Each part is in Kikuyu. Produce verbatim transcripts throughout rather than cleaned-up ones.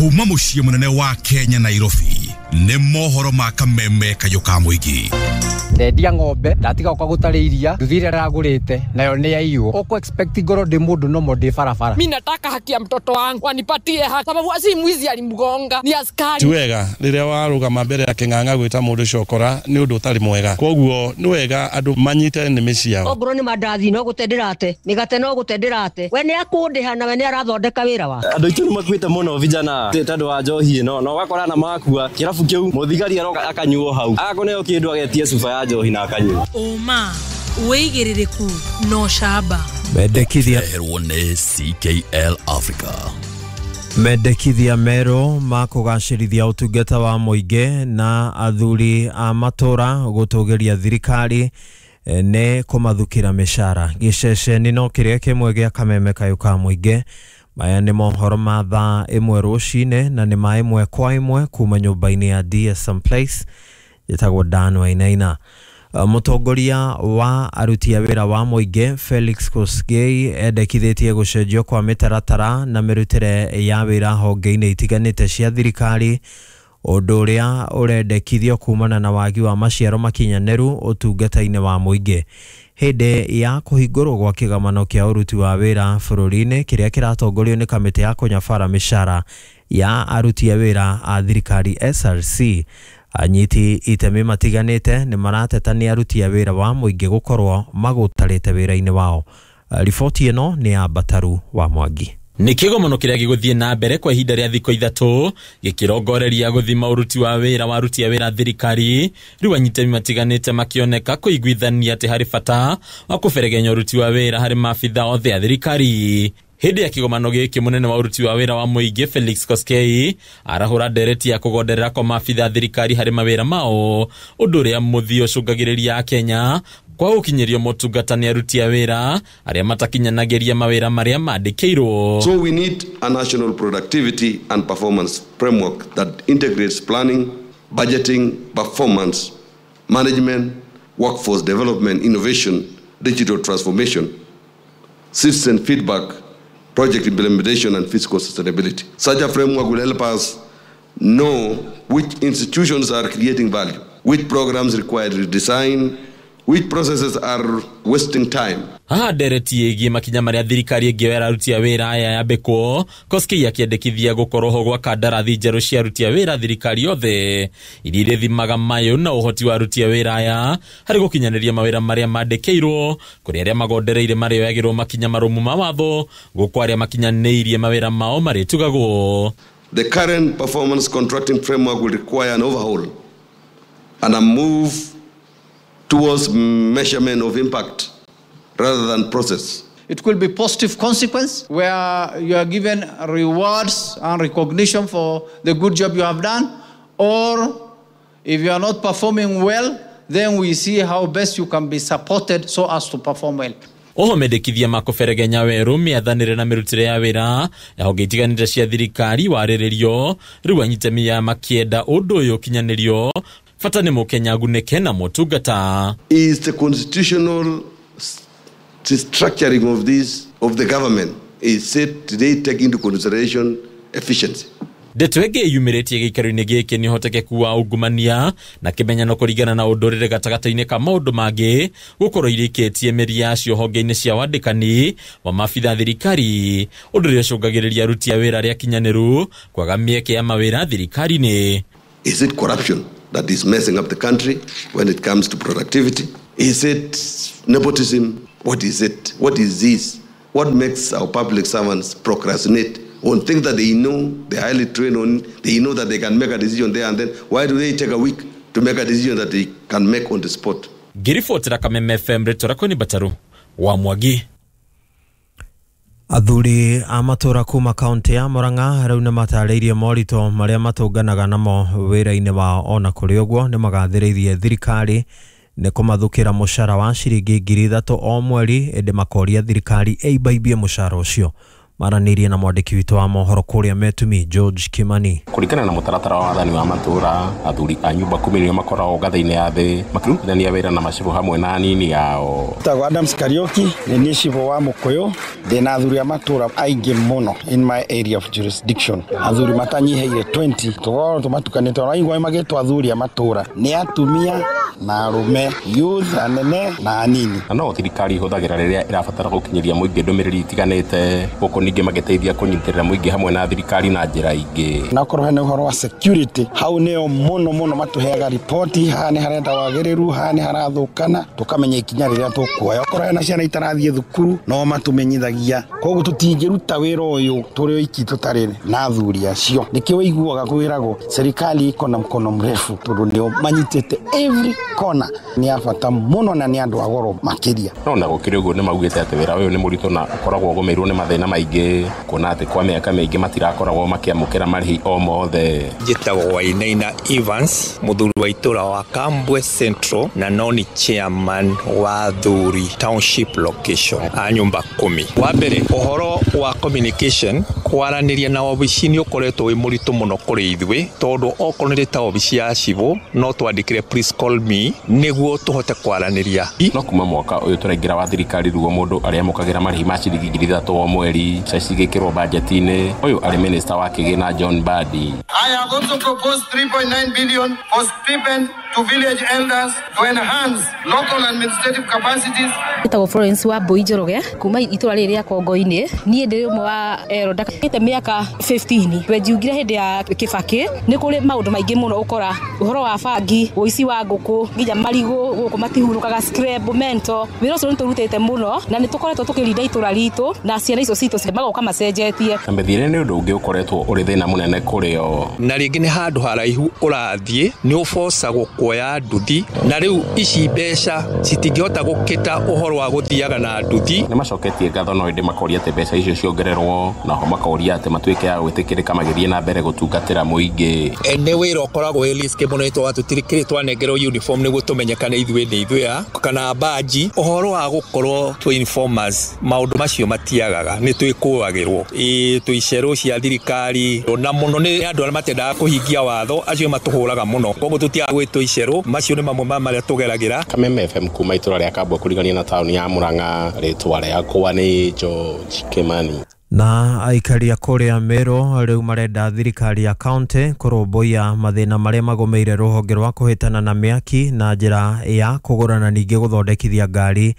Kuma muciĩ munene wa Kenya Nairobi nĩ mohoro ma kameme kayũ ka mũingĩ. Ndendia ng'ombe ndatiga gũka gũtarĩ iria nduthi ĩrĩa ndĩragũrĩte nayo nĩ yaiywo. Ũkũ expect ngorwo ndĩ mũndũ nomo ndĩ barabara. Mimi nataka haki ya mtoto wangu wanipatie haki, sababu si mwizi alimgonga, ni askari. Ti wega rĩrĩa warũgama mbere ya kĩng'ang'a gwĩta mũndũ cokora nĩ ũndũ ũtarĩ mwega, koguo nĩ wega andũ manyite nĩmĩ ciao. Ongorwo nĩ mandathi no gũte ndĩrate, mĩgate no gũte ndĩrate, we nĩ akũndĩha na we nĩ arathondeka wĩra wake. Andũ aitũ nĩ makuĩte mũno vijana tondũ wa njohi ĩno, na ũgakora na makua kĩrabu kĩu mũthigari aroka akanyuo hau akũneo kĩndũ agetie cuba ya njohi na akanyua. Ũma wĩigĩrĩrĩku no camba. Mendekithia Herwo nĩ C K L Africa. Mendekithia merũ ma kũgacĩrithia ũtungata wa mũingĩ na athuri a matũra gũtũgĩria thirikari nĩ kũmathukĩra mĩcara. Gĩceceni no kĩrĩa kĩmwe gĩa kameme kayũ ka mũingĩ. Maya nĩ mohoro ma thaa ĩmwe rũcinĩ na nĩ ma ĩmwe kwa ĩmwe kuma nyũmba-inĩ ya D S M Place ĩtagwo Dan Wainaina. Mũtongoria wa aruti a wĩra wa mũingĩ Felix Kosgei endekithĩtie gũcenjio kwa mĩtaratara na mĩrutĩre ya wĩra honge-inĩ itiganĩte cia thirikari, ũndũ ũrĩa ũrendekithio kumana na wagi wa maciaro makinyanĩru ũtungata-inĩ wa mũingĩ. Hĩndĩ ya kũhingũrwo gwa kĩgomano kĩa ũruti wa wĩra bũrũri-inĩ kĩrĩa kĩratongorio nĩ kamĩtĩ ya kũnyabara mĩcara ya aruti a wĩra a thirikari S R C, anyiti itemi matiganĩte nĩ marateta nĩ aruti a wĩra wa mũingĩ gũkorwo magũtarĩte wĩra-inĩ wao. Riboti ĩno nĩ ya Bataru wa Mwangi. Nĩ kĩgomano kĩrĩa gĩgũthiĩ na mbere kwa ihinda rĩa thikũ ithatũ gĩkĩrongoreria gũthima ũruti wa wĩra wa aruti a wĩra thirikari, rĩu anyitemi matiganĩte makĩoneka kũiguithania atĩ harĩ bata wa kũberegenya ũruti wa wĩra harĩ maabitha othe a thirikari. Hĩndĩ ya kĩgomano gĩkĩ mũnene wa ũruti wa wĩra wa mũingĩ Felix Koskei arahũra ndereti ya kũgonderera kwa maabitha a thirikari harĩ mawĩra mao, ũndũ ũrĩa mũthia ũcũngagĩrĩria Akenya kwa gũkinyĩrio motungata nĩ aruti a wĩra arĩa matakinyanagĩria mawĩra marĩa mandĩkĩirwo. So we need a national productivity and performance framework that integrates planning, budgeting, performance, management, workforce development, innovation, digital transformation, citizen feedback, project implementation and fiscal sustainability. Such a framework will help us know which institutions are creating value, which programs require redesign, which processes are wasting time. Haha ndereti ĩgiĩ makinya marĩa thirikari ĩngĩoera aruti a wĩra aya yambĩkwo, Koskei akĩendekithia gũkorwo ho gwa kandarathi njerũ cia aruti a wĩra thirikari yothe iria irĩthimaga mayũ na ũhoti wa aruti a wĩra aya harĩ gũkinyanĩria mawĩra marĩa mandĩkĩirwo, kũrĩ arĩa magondereire marĩoyagĩrwo makinya marũmu ma watho, gũkũ arĩa makinyanĩirie mawĩra mao marĩtugagwo. The current performance contracting framework will require an overhaul and a move towards measurement of impact rather than process. It could be positive consequence where you are given rewards and recognition for the good job you have done, or if you are not performing well, then we see how best you can be supported so as to perform well. Oho mendekithia ma kũberegenya werũ mĩathanĩre na mĩrutĩre ya wĩra ya honge itiganĩte cia thirikari warĩrĩrio, rĩu anyitemi ya makĩenda ũndũ ũyũ ũkinyanĩrio bata nĩ mũkenya agunĩke na motungata. Is the constitutional structuring of this of the government is said today take into consideration efficiency. Ndeto ĩngĩ yumĩrĩtie gĩikaro-inĩ gĩkĩ nĩ ũhotekeku wa ungumania na kĩmenyano kũringana na ũndũrĩre gatagatĩ-inĩ ka maũndũ mangĩ gũkorwo irĩkĩtie mĩri yacio honge-inĩ cia wandĩkani wa maabitha thirikari, ũndũ ũrĩa ũcũngagĩrĩria aruti a wĩra arĩa akinyanĩru kwaga mĩeke ya mawĩra thirikari-inĩ. Is it corruption that is messing up the country when it comes to productivity? Is it nepotism? What is it? What is this? What makes our public servants procrastinate on things that they know, they're highly trained on, they know that they can make a decision there and then? Why do they take a week to make a decision that they can make on the spot? Ngĩribotera Kameme F M rĩtwa rĩakwa nĩ Bataru wa Mwangi. Athuri a matũra kuma kaunti ya Murang'a rĩu nĩ matarĩirie moritũ marĩa matũnganaga namo wĩra-inĩ wao. Ona kũrĩ ũguo nĩ magathĩrĩirie thirikari nĩ kũmathukĩra mũcara wa ciringi ngiri ithatũ o mweri, ĩndĩ makoria thirikari ĩimbaimbie mũcara ũcio. Maranĩirie na mwandĩki witũ wa mohoro kũrĩa Metumi George Kimani. Kũringana na mũtaratara wa wathani wa matũra, athuri a nyumba kumi nĩo makoragwo ngathĩ-inĩ ya thĩ makĩrutithania wĩra na macibũ hamwe na anini ao. Tagwo Adams Kariuki, nĩ niĩ cibũ wa Mũkũyũ, ndĩna athuri a matũra aingĩ mũno in my area of jurisdiction. Athuri matanyihĩire twenty, tũkoragwo tũmatukanĩte, ona aigua magĩtwo athuri a matũra nĩ atumia na arũme, youth, anene na anini. Na no thirikari ihũthagĩra rĩrĩa ĩrabatara gũkinyĩria mũingĩ ndũmĩrĩri itiganĩte, gũkũ ningĩ magĩteithia kũnyitĩrĩra mũingĩ hamwe na thirikari na njĩra ingĩ. Na okorwo hena ũhoro wa security, hau nĩo mũno mũno matũheaga ripoti, haha nĩ harenda wagĩrĩru, haha nĩ harathũkana, tũkamenya ikinya rĩrĩa tũkuoya. Okorwo hena ciana itarathiĩ thukuru, no matũmenyithagia. Koguo tũtingĩruta wĩra ũyũ tũrĩ oiki tũtarĩ na athuri acio. Nĩkĩo ũiguaga kwĩragwo serikali iko na mkono mrefu, tondũ nĩo manyitĩte every kona. Nĩ a bata mũno na nĩ andũ a goro makĩria. No na gũkĩrĩ ũguo nĩ maugĩte atĩ wĩra ũyũ nĩ mũritũ na ũkoragwo ũgũmĩirwo nĩ mathĩna maingĩ, kuona atĩ kwa mĩaka mĩingĩ matirakoragwo makĩamũkĩra marĩhi o mothe. Njĩtagwo Wainaina Evans, mũthuri wa itũra wa Kambwe Central na no nĩ chairman wa Thuri Township location a nyumba kumi. Wa mbere, ũhoro wa communication, kwaranĩria na obici nĩ ũkoretwo wĩ mũritũ mũno kũrĩ ithuĩ, tondũ okorwo nĩ ta obici ya cibũ no twandĩkĩre please call me nĩguo tũhote kwaranĩria. No kuma mwaka ũyũ tũraingĩra wa thirikari ruo mũndũ arĩamũkagĩra marĩhi ma ciringi ngiri ithatũ o mweri, mbeca cigĩkĩrwo bajeti-inĩ. Ũyũ arĩ minister wa kĩgĩna John Mbadi. I have also proposed three point nine billion for stipend to village elders to enhance local administrative capacities. Njĩtagwo Florence wa Mbui Njoroge kuma itũra rĩrĩ rĩa Kongo-inĩ. Niĩ ndĩ ũmwe wa elder kĩte mĩaka fifteen. Wenjiugire hĩndĩ ya Kibaki nĩ kũrĩ maũndũ maingĩ mũno ũkora ũhoro wa bangi, ũici wa ngũkũ, nginya marigũ gũkũ matihurũkaga, scrap mento. Wĩra ũcio nĩ tũrutĩte mũno na nĩ tũkoretwo tũkĩrinda itũra ritũ na ciana icio citũ magoka macenjetie. Na mĩthiĩre nĩ ũndũ ũngĩ ũkoretwo ũrĩ thĩna mũnene kũrĩ o. Na rĩngĩ nĩ handũ haraihu ũrathiĩ nĩ ũbocagwo kuoya nduthi, na rĩu ici mbeca citingĩhota gũkĩta ũhoro wa gũthiaga na nduthi. Nĩ macoketie ngatho no ĩndĩ makoria atĩ mbeca icio ciongererwo, naho makoria atĩ matuĩke a gwĩtĩkĩrĩka magĩthiĩ na mbere gũtungatĩra mũingĩ. Nĩ wĩra ũkoragwo wĩ risky mũno, nĩ tondũ tũtirĩ twanengerwo uniform nĩguo tũmenyekane ithuĩ nĩ ithuĩ a kana baji. Ũhoro wa gũkorwo twĩ informers, maũndũ macio matiagaga, nĩ twĩkũagĩrwo ĩ twĩ icerũ cia thirikari, na mũno nĩ andũ arĩa matendaga kũhingia watho acio matũhũraga mũno, koguo tũtiaga gwĩtwo icerũ. Macio nĩ mamwe ma marĩa tũgeragĩra. Kameme F M kuma itũra rĩa Kambwe kũrigania na taũni ya Murang'a, rĩtwa rĩakwa nĩ George Kimani. Na aikari a kũrĩa Meru rĩu marenda thirikari ya kaunti kũrũmbũiya mathĩna marĩa magũmĩire rũhonge rwa kũhĩtana na mĩaki na njĩra ya kũgũra na ningĩ gũthondekithia ngari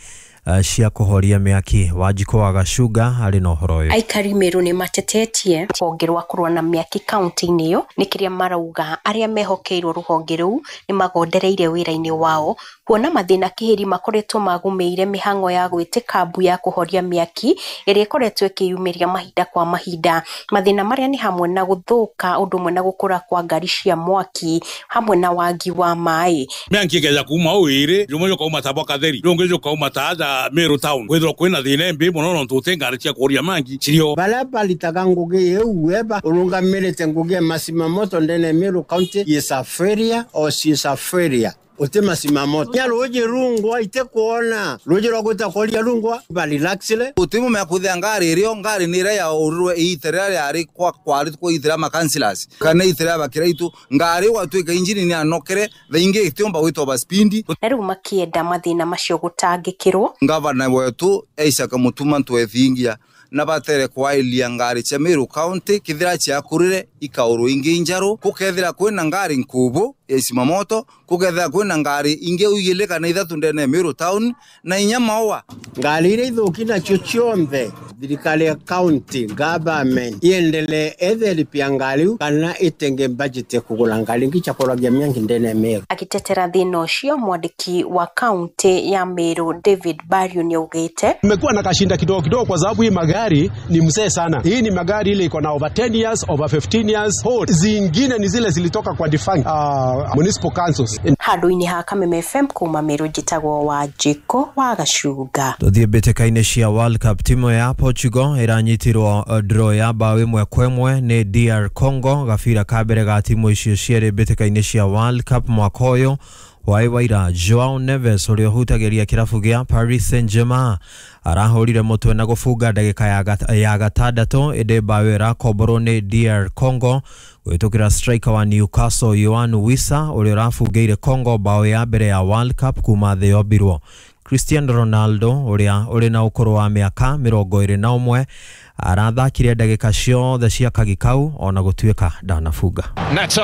cia kũhoria mĩaki. Wanjikũ wa Gacunga arĩ na ũhoro ũyũ. Aikari Meru nĩ matetetie rũhonge rwa kũrũa na mĩaki kaunti-inĩ ĩyo nĩ kĩrĩa marauga arĩa mehokeirwo rũhonge rũu nĩ magondereire wĩra-inĩ wao, kuona mathĩna kĩhĩri makoretwo magũmĩire mĩhang'o ya gwĩtĩka mbu ya kũhoria mĩaki ĩrĩa ĩkoretwo ĩkĩyumĩria mahinda kwa mahinda. Mathĩna marĩa nĩ hamwe na gũthũka ũndũ ũmwe na gũkũra kwa ngari cia mwaki hamwe na wagi wa maĩ. Mĩaki ĩkĩgeria kuma ũĩrĩ rũmwe rũkauma ta Bokatheri rũngĩ rũkauma ta Meru town kwithirwo kwina thina mbi muno no tute ngari cia kuria mangi cirio bala balitaga ngugi yeuweba urungamirite ngugi masimamoto ndene Meru County yesaferia o sisaferia ote masimamoto ya roje rungwa ite kuona roje rwagwita koria rungwa baliraxile utimu mekuthia ngari irio ngari ni ira ya urwe iterera yari kwa kwari kwa itera ma councillors kana itera bakira itu ngari gwatuika injini ni anokere thaingi itiomba gwitwo baspindi. Na riu makienda mathina macio gutangikirwo. Ngavana wetu Isaac Mutuma twethingia na batere kwailia ngari cia Meru County kithira ciakurire ikauru ingi njaru kukethira kwina ngari nkubu ya isimamoto kukethira kwina ngari ingi uigile kana ithatu ndene Meru town na inya maua ngari iria ithuki nacio cionthe thirikari ya county government iendelee etheripia ngari kana itenge budget kugura ngari ingi cia mĩangi ndene Meru. Akitetera thina ucio mwandiki wa county ya Meru David Bario nĩaugĩte mmekuwa na kashinda kidogo kidogo kwa sababu hii magari ni mzee sana. Hii ni magari ile iko na over ten years, over fifteen years old. Zingine ni zile zilitoka kwa defunct uh, municipal councils. Handũ-inĩ ha Kameme F M kuma Meru njĩtagwo Wanjikũ wa Gacunga. Tuthiĩ mbĩtĩka-inĩ cia World Cup, timu ya Portugal ĩranyitirwo draw ya bao ĩmwe kwa ĩmwe nĩ D R Congo gabira ka mbere ga timu icio cierĩ mbĩtĩka-inĩ cia World Cup mwaka ũyũ Hwaĩ wa ira Joao Neves ũrĩa ũhutagĩria kĩrabu gĩa Paris Saint-Germain arahũrire mũtwe na gũbunga ndagĩka ya gat- ya gatandatũ, ĩndĩ mbaũ ĩyo ĩrakomborwo nĩ D R Congo gwĩtũkĩra striker wa Newcastle Yoane Wissa ũrĩa ũrabungĩire Congo mbaũ ya mbere ya World Cup kuma thĩ yombirwo. Cristiano Ronaldo ũrĩa ũrĩ na ũkũrũ wa mĩaka mĩrongo ĩrĩ na ũmwe arathakire ndagĩka ciothe cia kagi kau ona gũtuĩka ndanabunga. Neto.